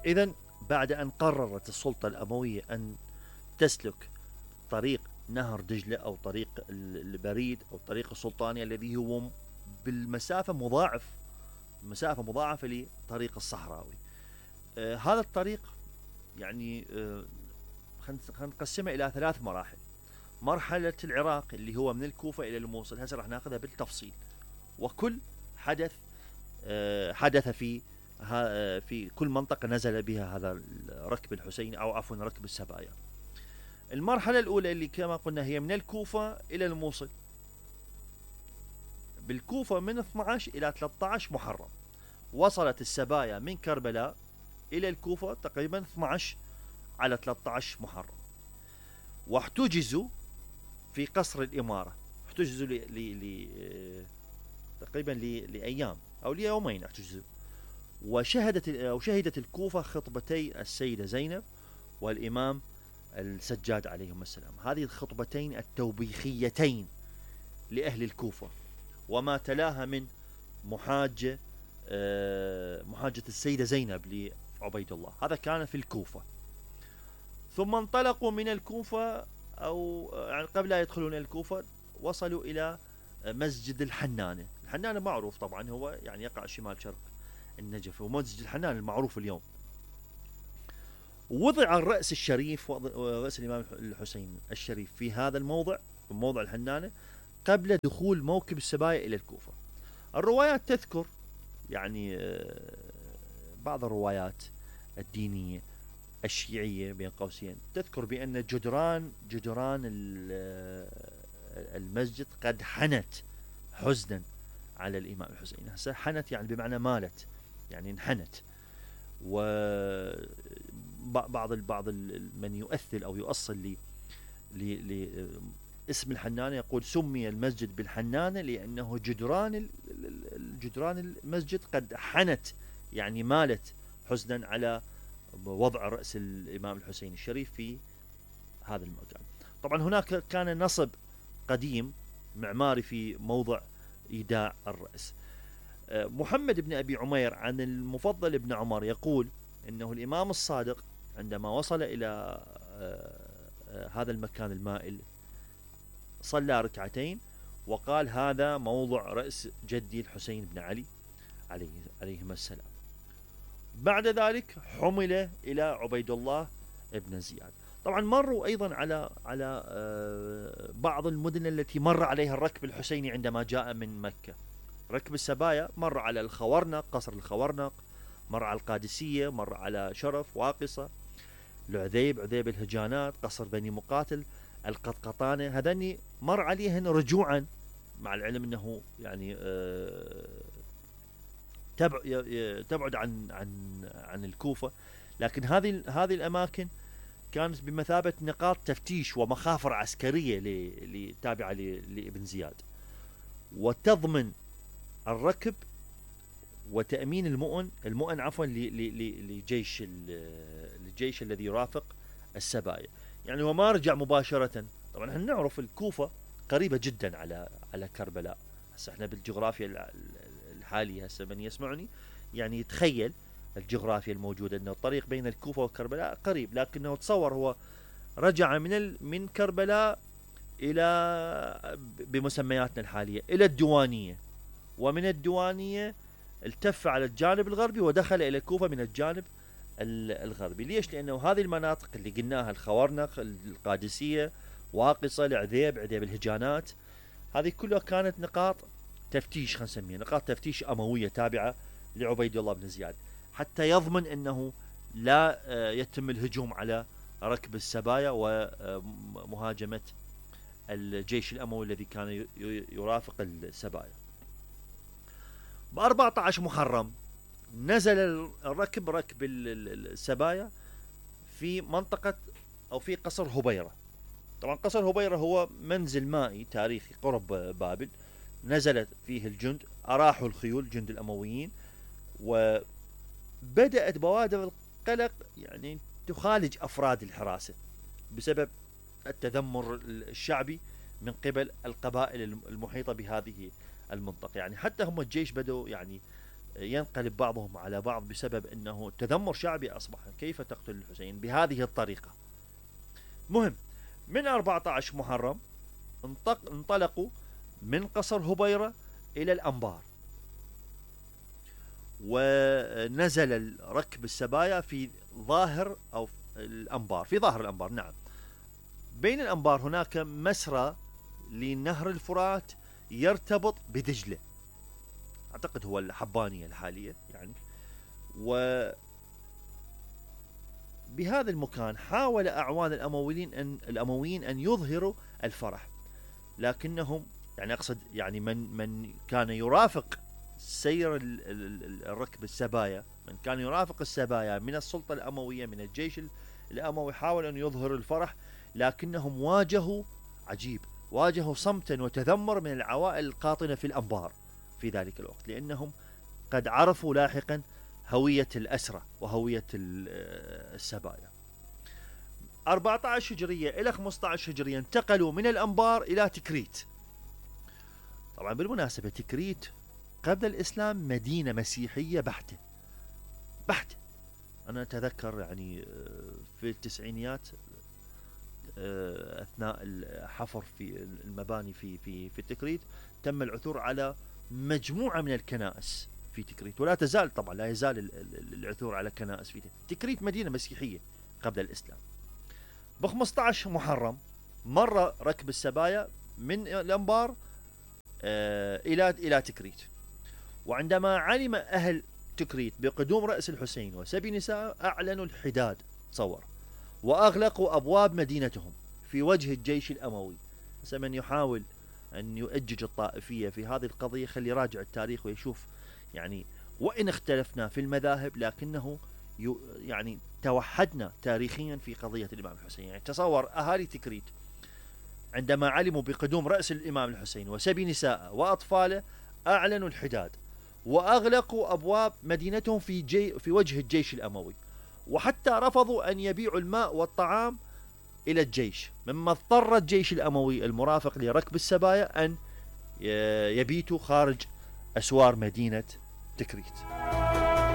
إذا بعد أن قررت السلطة الأموية أن تسلك طريق نهر دجلة أو طريق البريد أو الطريق السلطاني الذي هو بالمسافة مسافة مضاعفة لطريق الصحراوي. هذا الطريق يعني خلينا نقسمه إلى 3 مراحل. مرحلة العراق اللي هو من الكوفة إلى الموصل، هسه راح ناخذها بالتفصيل، وكل حدث في كل منطقة نزل بها هذا ركب الحسيني أو عفوا ركب السبايا. المرحلة الأولى اللي كما قلنا هي من الكوفة إلى الموصل. بالكوفة من 12 إلى 13 محرم وصلت السبايا من كربلاء إلى الكوفة تقريبا 12 على 13 محرم، واحتجزوا في قصر الإمارة، احتجزوا تقريبا لأيام أو ليومين احتجزوا. وشهدت الكوفة خطبتي السيدة زينب والإمام السجاد عليهم السلام، هذه الخطبتين التوبيخيتين لأهل الكوفة، وما تلاها من محاجة السيدة زينب لعبيد الله، هذا كان في الكوفة. ثم انطلقوا من الكوفة أو يعني قبل لا يدخلون الكوفة وصلوا إلى مسجد الحنانة. الحنانة معروف طبعا، هو يعني يقع شمال شرق النجف، ومسجد الحنانة المعروف اليوم. وضع الرأس الشريف، رأس الإمام الحسين الشريف في هذا الموضع، موضع الحنانة، قبل دخول موكب السبايا إلى الكوفة. الروايات تذكر يعني بعض الروايات الدينية الشيعية بين قوسين تذكر بأن جدران المسجد قد حنت حزنا على الإمام الحسين. هسه حنت يعني بمعنى مالت، يعني انحنت. وبعض من يؤثل أو يؤصل اسم الحنانة يقول سمي المسجد بالحنانة لأنه جدران المسجد قد حنت، يعني مالت حزنا على وضع رأس الإمام الحسين الشريف في هذا المكان. طبعا هناك كان نصب قديم معماري في موضع إيداع الرأس. محمد بن أبي عمير عن المفضل بن عمر يقول إنه الإمام الصادق عندما وصل إلى هذا المكان المائل صلى ركعتين وقال هذا موضع رأس جدي الحسين بن علي عليهما السلام. بعد ذلك حمل إلى عبيد الله بن زياد. طبعا مروا أيضا على بعض المدن التي مر عليها الركب الحسيني عندما جاء من مكة. ركب السبايا مر على الخورنق، قصر الخورنق، مر على القادسية، مر على شرف، واقصة، عذيب الهجانات، قصر بني مقاتل، القطقطانة، هذني مر عليهن رجوعا، مع العلم أنه يعني تبعد عن الكوفة، لكن هذه الأماكن كانت بمثابة نقاط تفتيش ومخافر عسكرية تابعة لابن زياد، وتضمن الركب وتأمين المؤن عفوا للجيش الذي يرافق السبايا. يعني وما رجع مباشرة. طبعا احنا نعرف الكوفة قريبة جدا على كربلاء. هسه احنا بالجغرافيا الحالية، هسه من يسمعني يعني يتخيل الجغرافيا الموجودة انه الطريق بين الكوفة وكربلاء قريب، لكنه تصور هو رجع من كربلاء الى بمسمياتنا الحالية الى الديوانية، ومن الديوانية التف على الجانب الغربي ودخل الى الكوفة من الجانب الغربي. ليش؟ لانه هذه المناطق اللي قلناها الخورنق، القادسية، واقصة، عذيب الهجانات، هذه كلها كانت نقاط تفتيش، خلينا نسميها نقاط تفتيش أموية تابعة لعبيد الله بن زياد، حتى يضمن أنه لا يتم الهجوم على ركب السبايا ومهاجمة الجيش الأموي الذي كان يرافق السبايا. ب14 محرم نزل ركب السبايا في منطقة أو في قصر هبيرة. طبعا قصر هبيرة هو منزل مائي تاريخي قرب بابل، نزلت فيه الجند، أراحوا الخيول جند الأمويين، وبدأت بوادر القلق يعني تخالج أفراد الحراسة بسبب التذمر الشعبي من قبل القبائل المحيطة بهذه المنطقة. يعني حتى هم الجيش بدأوا يعني ينقلب بعضهم على بعض بسبب أنه تذمر شعبي أصبح. كيف تقتل الحسين بهذه الطريقة؟ مهم، من 14 محرم انطلقوا من قصر هبيرة إلى الأنبار، ونزل ركب السبايا في ظاهر أو الأنبار، في ظاهر الأنبار. نعم، بين الأنبار هناك مسرى لنهر الفرات يرتبط بدجلة، أعتقد هو الحبانية الحالية يعني. وبهذا المكان حاول أعوان الأمويين أن يظهروا الفرح، لكنهم يعني أقصد يعني من كان يرافق سير الركب السبايا، من كان يرافق السبايا من السلطة الأموية من الجيش الأموي، حاول أن يظهر الفرح، لكنهم واجهوا صمتا وتذمر من العوائل القاطنة في الأنبار في ذلك الوقت، لأنهم قد عرفوا لاحقا هوية الأسرى وهوية السبايا. 14 هجرية إلى 15 هجرية انتقلوا من الأنبار إلى تكريت. طبعا بالمناسبة تكريت قبل الإسلام مدينة مسيحية بحتة. أنا أتذكر يعني في التسعينيات أثناء الحفر في المباني في تكريت تم العثور على مجموعة من الكنائس في تكريت، ولا تزال طبعا لا يزال العثور على كنائس في تكريت. مدينة مسيحية قبل الإسلام. ب 15 محرم مر ركب السبايا من الأنبار إلى تكريت، وعندما علم أهل تكريت بقدوم رأس الحسين وسبي نساء أعلنوا الحداد، تصور، وأغلقوا أبواب مدينتهم في وجه الجيش الأموي. من يحاول أن يؤجج الطائفية في هذه القضية خلي يراجع التاريخ ويشوف يعني وإن اختلفنا في المذاهب لكنه يعني توحدنا تاريخيا في قضية الإمام الحسين. يعني تصور أهالي تكريت عندما علموا بقدوم رأس الإمام الحسين وسبي نساء وأطفاله أعلنوا الحداد وأغلقوا أبواب مدينتهم في وجه الجيش الأموي، وحتى رفضوا أن يبيعوا الماء والطعام إلى الجيش، مما اضطر الجيش الأموي المرافق لركب السبايا أن يبيتوا خارج أسوار مدينة تكريت.